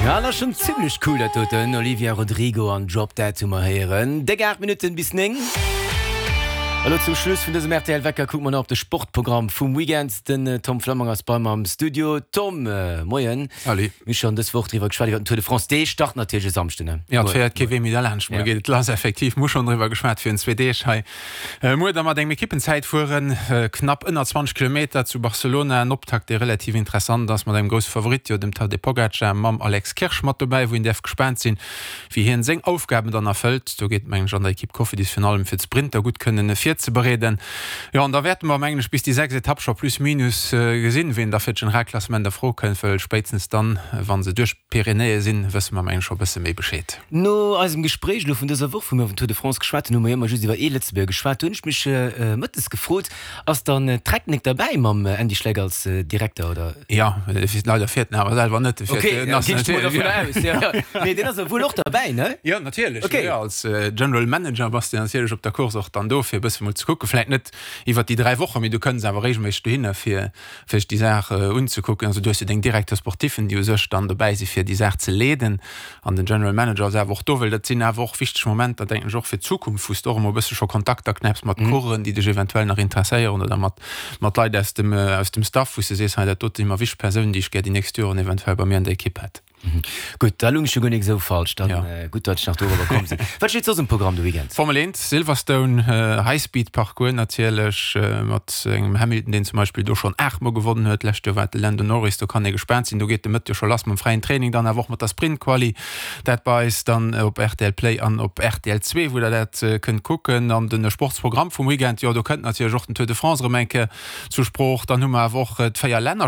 Ja, dat ass schonn zimmlech cool dat doten. Olivia Rodrigo an Drop Dead hu mer héieren. Déck 8 Minutten bis 9. Elo zum Schluss vun dësem rtl Wecker kucke mer nach op de Sportprogramm vum Weekend. Den Tom Flammang ass bei mer am Studio. Tom, Moien. Salut. Mir hu schonn dës Woch driwwer geschwat, iwwer den Tour de France. Dee start natierlech e Samschden, ne? Jo, et féiert kee Wee méi derlaanscht. Muer geet et lass, effektiv. Mir hu schonn driwwer geschwat virun zwee Deeg hei. Muer da mat engem Ekippenzäitfueren, knapp ënner 20 Kilometer zu Barcelona. En Optakt, dee relativ interessant ass, mat engem grousse Favorit, jo dem Tadej Pogacar, mam Alex Kirsch mat dobäi, wou een däerf gespaant sinn, wéi hien seng Aufgaben dann erfëllt. Do geet et, mengen ech, an der Ekipp Cofidis virun allem fir d'Sprinter gutt kënnen virzebereeden. Jo, an da wäerte mer, mengen ech, bis déi 6 Etapp scho plus minus gesinn, wien da fir d'Generalklassement a Fro kënnt, well spéitstens dann, wa se duerch d'Pyrenäe sinn, wësse mer, mengen ech, scho e bësse méi Bescheed. No eisem Gespréich elo vun dëser Woch, wou mir iwwer den Tour de France geschwat hunn, hu mer jo ëmmer just iwwer ee Lëtzebuerger geschwat. Do hunn ech mech mëttes gefrot, Ass dann d'Trecknek derbäi mam Andy Schleck als Direkter, oder? Jo, leider fiert en awer selwer net. Ok, ginn ech mol dovunner aus, jo. Mee deen ass jo wuel och derbäi, ne? Jo, natierlech. Ok. Jo, als General Manager bass de natierlech op der Course och dann do, fir e bësse mol ze kucken. Vläicht net iwwer déi 3 Wochen, mee du kënns awer reegelméisseg dohinner, fir fir sech déi Saach unzekucken. Also du hues jo deng Directeurs sportiffen, déi u sech dann dobäi si fir déi Saach ze leeden an den General Manager ass awer och do, well dat sinn awer och wichteg Momenter, denken ech, och fir d'Zukunft, wou s de och emol e bësse scho Kontakter knäpps mat Coureuren, déi dech eventuell nach interesséieren oder mat mat Leit aus dem aus dem Staff, wou s de sees, hei dat dote si mer wichteg Persounen, déi ech gär déi nächst Joren eventuell bei mir an der Ekipp hätt. Gutt, da lung ech jo guer nik esou falsch. Dann gutt, datt ech nach dorobber komm sinn. Wat steet soss um Programm de Weekend? Formel 1, Silverstone, Highspeed-Parcours natierlech, mat engem Hamilton, deen zum Beispill do schonn 8 Mol gewonnen huet. D'lescht Joer war et de Lando Norris. Do kann ee gespaant sinn. Do geet de Mëtt jo scho lass mam fräien Training, dann awer och mat der Sprint-Quali. Dat bei eis dann op rtl Play an op rtl 2, wou der dat kënnt kucken. An de Sportsprogramm vum Weekend, jo do kënnt natierlech och den Tour de France erëm eng Kéier zur Sprooch. Dann hu mer awer och d'Véier Länner.